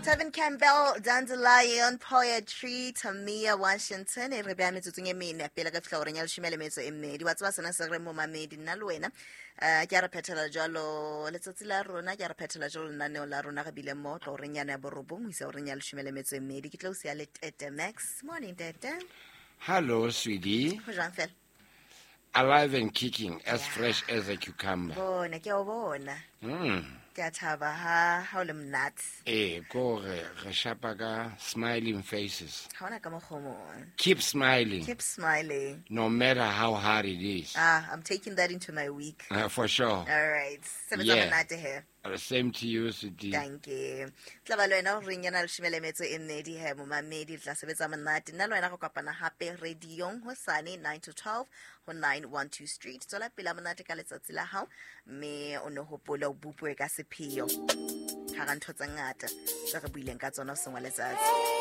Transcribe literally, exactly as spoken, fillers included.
Tevin Campbell, Dandelion, Poetry, Tamia Washington, e re beha metsotsong e mene pele re fihla horeng ya leshome le metso e mmedi. Wa tseba sena se re momamedi nna le wena um ke a re phethela jwalo letsatsi la rona, ke a re phethela jwalo lenaneo la rona. Re bile mo tlo horeng yana ya borobong ho isa horeng ya leshome le metso e mmedi. Ke tlo o siya le Tete Max. Morning, Tete. Hello, sweetie. Ho jwang fela? Alive and kicking, as Yeah. fresh as a cucumber. Bona, ke a o bona. Mm. Ke a thaba ha ha o le monate. Eh, ko re re shapa ka smiling faces. Ha hona ka mokgwa o mong. Keep smiling. Keep smiling. No matter how hard it is. Ah, I'm taking that into my week. Uh, for sure. All right. Sebetsa Yeah. monate he. Uh, Same to you, sweetie. Thank you. Tla ba le wena horeng yana leshome le metso e mmedi he momamedi, tla sebetsa monate. Nna le wena re kopana hape radiong hosane nine to twelve ho nine one two Street. Tswela pele monate ka letsatsi la hao, mme o ne hopole o bopue ka sepheo hara ntho tse ngata tse re buileng ka tsona hoseng wa letsatsi.